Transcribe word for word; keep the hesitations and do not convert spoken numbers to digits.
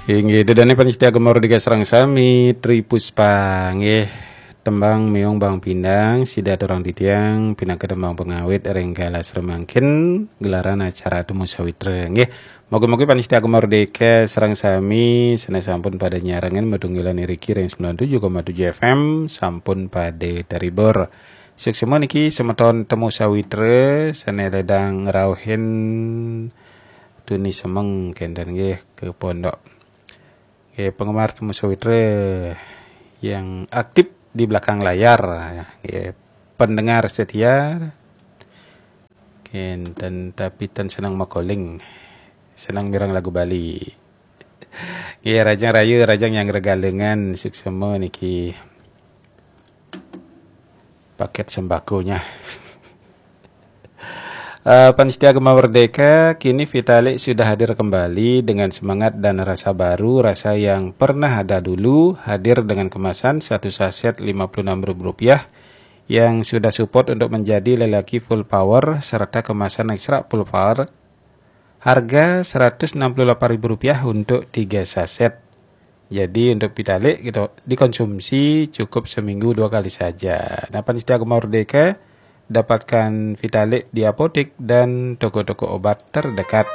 Inggih, dedane panitia Gema Merdeka sareng sami, Tri Puspa, nggih. Tembang Meong Bang Pindang, sida aturang titiang, pinaka tembang pengawit ring galah semangkin, gelaran acara Temu Sawitra, nggih. Moga-moga panitia Gema Merdeka sareng sami, sane sampun pada nyarengin matunggilan iriki ring sembilan tujuh koma tujuh F M, sampun pada teribur. Suksma niki semeton Temu Sawitra, sane ledang ngrauhin tuni semeng kenten nggih ke pondok. Nggih, penggemar Temu Sawitra yang aktif di belakang layar, nggih, pendengar setia, kenten tapi ten seneng makoling, seneng mireng lagu Bali. Nggih, rajang rayu, rajang yang regalengan, suksma niki paket sembakonya. Eh, panitia Gema Merdeka, kini Vitalik sudah hadir kembali dengan semangat dan rasa baru, rasa yang pernah ada dulu, hadir dengan kemasan satu saset lima puluh enam ribu rupiah yang sudah support untuk menjadi lelaki full power serta kemasan ekstra full power, harga seratus enam puluh delapan ribu rupiah untuk tiga saset. Jadi untuk Vitalik gitu, dikonsumsi cukup seminggu dua kali saja. Nah, panitia Gema Merdeka, dapatkan Vitalik di apotek dan toko-toko obat terdekat.